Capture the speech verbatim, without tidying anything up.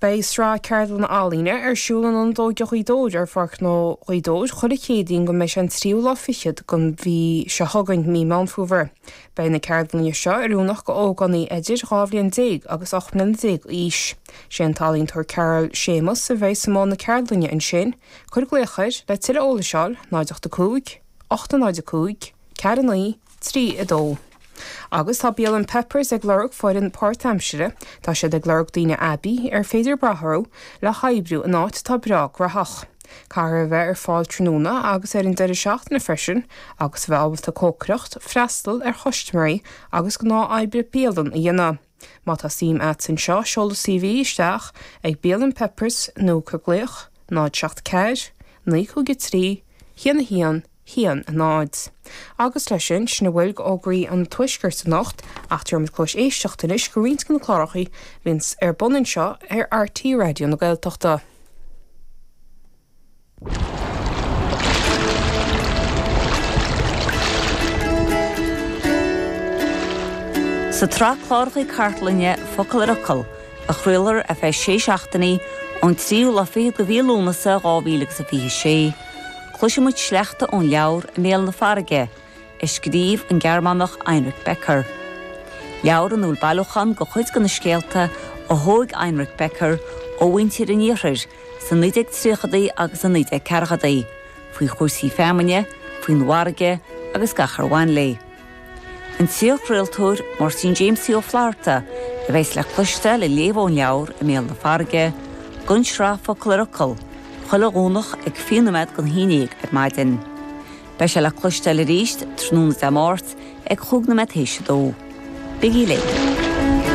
Beidh sraith ceardlanna ealaíne ar siúl in Ionad Óige Ghaoth Dobhair ar Pháirc Ghnó Ghaoth Dobhair chuile Chéadaoin go mbeidh sé an tríú lá fichead den mhí seo chugainn, mí Meán Fómhair. Beidh na ceardlanna seo oiriúnach go ógánaigh idir dhá bhliain déag agus ocht mbliana déag d'aois. Sé an t-ealaíontóir Carol Séamus a bheidh i mbun na ceardlainne ansin. Cuir glaoch air le tuilleadh eolais a fháil, náid ocht a cúig, ocht a náid a cúig, ceathair a naoi, trí a dó. Agus tá bialann Peppers ag lorg foireann páirtaimsire, tá siad ag lorg daoine aibí ar féidir brath orthu le hoibriú in áit atá breá graitheach. Caithfear a bheith ar fáil tráthnóna agus ar an deireadh seachtaine freisin agus a bheith ábalta cócaireacht, freastal ar chustaiméirí agus gnáth-oibre bialann a dhéanamh. Má tá suim agat anseo, seol do CV isteach ag bialann Peppers nó cuir glaoch náid seacht ceathair, naoi cúig a trí, haon a haon, haon a náid. Agus leis sin, sin a bhfuil d'fhógraí an Tuaiscirt anocht, ach tabharfaimid cluas éisteachta anois go roinnt de na cláracha a bhíonns ar bun anseo ar RTÉ Raidió na Gaeltachta. Sa tsraith cláracha cartlainne Focal ar Fhocal, a chraolfar ar feadh sé seachtainí ón tríú lá fichead de mhí Lúnasa dhá mhíle agus a fiche sé, Cloisfidh muid sleachta ón leabhar I mBéal na Farraige, a scríobh an Gearmánach Heinrich Becker. Leabhar ina bhfuil bailiúchán de chuid de na scéalta a thóg Heinrich Becker ó mhuintir an iarthair sna naoi déag tríochadaí agus sna naoi déag ceathrachaidí, faoi chúrsaí feamainne, faoin bhfarraige agus gach ar bhain léi. An t-iarchraoltóir Máirtín Jamesie Ó Flatharta a bheas le cloisteáil ag léamh ón leabhar I mBéal na Farraige, don tsraith Focal ar Fhocal, chuile Dhomhnach ag fiche nóiméad don haon déag ar maidin. Beidh sé le cloisteáil arís tráthnóna Dé Máirt ag chúig nóiméad théis a dó. Bígí linn!